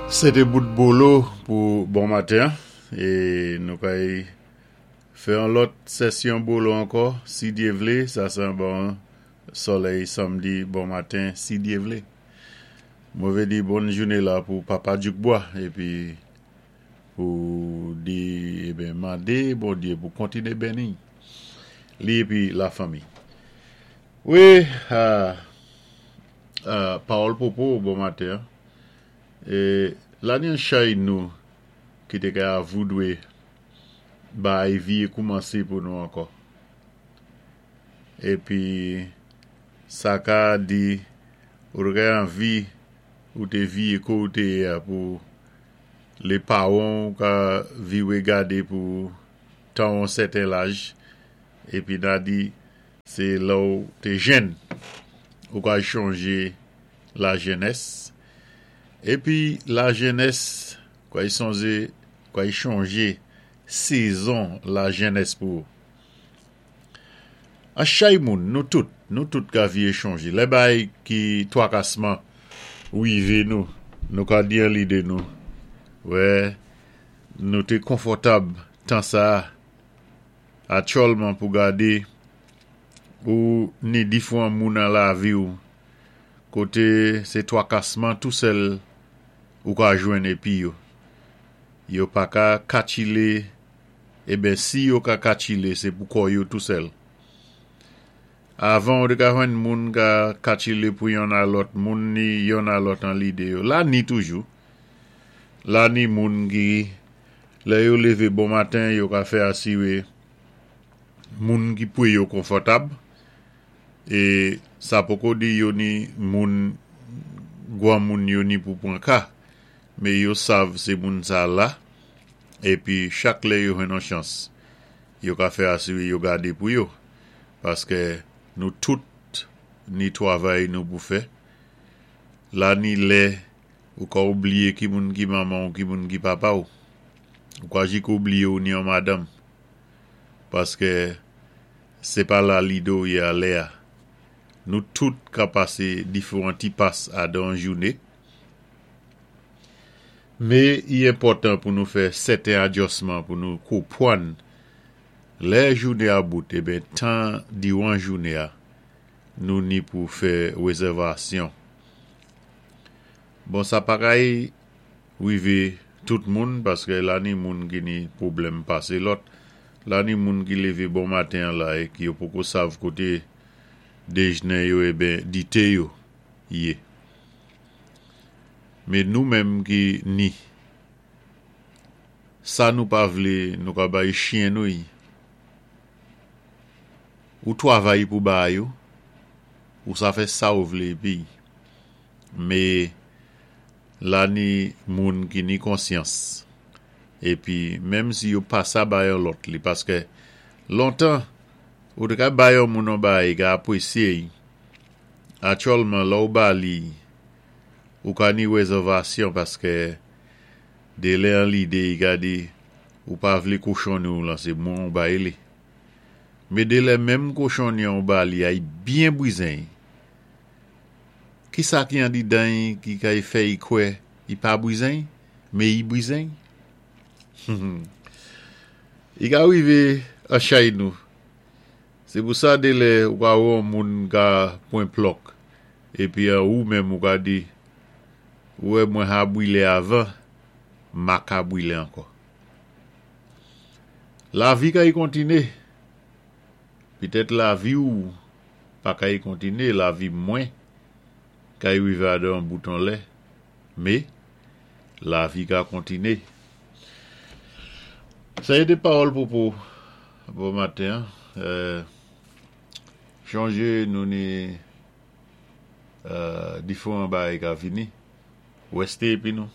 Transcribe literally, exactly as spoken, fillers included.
Sé té bout bolo pou bon maten é nou kay fè an lòt sésyon bolo ankò si Dye vlé sa sé an bon solèy sanmdi bon maten si Dye vlé. Mwen vé di bòn jouné la pou papa Djoukbwa épi pou di eben mandé Bondye pou kontiné benni li épi la fanmi. Wi, euh, euh, pawòl popo bon maten. É la ni an chay nou ki té ka voudwé bay vié koumansé pou nou ankò. Épi sa ka di ou té anvi ou té vié kou ou té yé a pou lé pawan ka viwé gadé pou tan an sèten laj épi na di sé lè ou té jèn ou ka chonjé la jenès épi la jenès kay sonjé kay chonjé sezon la jenès pou ou. An chay moun nou tout nou tout ka vié chonjé lè bay ki twakasman wivé nou nou ka di an lidé nou wè nou té konfòtab tan sa aktyèlman pou gadé ou ni difwan moun nan lavi ou koté sé twakasman tou sèl ou ka jwenn épi yo yo pa ka katchilé eben si yo ka katchilé sé pou kò yo tou sèl. Avan ou té ka jwenn moun ka katchilé pou yonn a lòt moun ni yonn a lòt an lidé yo. La ni toujou. La ni moun ki lè yo lévé bon maten yo ka fè asiwé moun ki pwé yo konfòtab é sa poko di yo ni moun gwan moun yo ni pou pwan ka mé yo sav sé moun sa la épi chak lè yo jwenn an chans yo ka fè asiwé yo gadé pou yo paské nou tout ni twavay nou pou fè la ni lè ou ka oubliyé ki moun ki manman ou ki moun ki papa ou ou ka jik oubliyé ou ni an madanm paské sé pa la lidé ou yé a lè a nou tout ka pasé diféwan ti pas adan jouné mé i enpòtan pou nou fè sèten adjisman pou nou konpwann lè jouné a bout eben tan diwan jouné a nou ni pou fè wézèvasyon. Bon sa pa kay wivé tout moun paské la ni moun ki ni pwoblèm pasé lòt la ni moun ki lévé bon maten la é ki yo poko sav koté déjné yo eben dité yo yé. Mé nou menm ki ni sa nou pa vlé nou ka bay chyen nou yi. Ou twavay pou ba yo ou sa fè sa ou vlé épi mé la ni moun ki ni konsyans épi menm si yo pa sa bay an lòt li paské lontan ou té ka bay an moun an bay ka apwésyé y. Aktyèlman lè ou ba li ou ka ni wézèvasyon paské de lè an lidé i ka di ou pa vlé kochonni ou lan sé mwen ou bay li. Mé de lè menm kochonni an ou ba li a i byen bwizen. Ki sa ki andidan y ki kay fè y kwè i pa bwizen, mé i bwizen? I ka wivé a chay nou. Sé pou sa de lè ou ka wè an moun ka pwan plòk épi an ou menm ou ka di wè mwen ha bwilé avan, ma ka bwilé ankò. Lavi kay kontiné. Pitèt lavi ou pa kay kontiné, lavi mwen kay wivé adan bouton lè, mé lavi ka kontiné. Sa yé té pawòl popo bon maten. Euh, chonjé nou ni euh, diféwan bagay ka vini. Wèsté épi nou.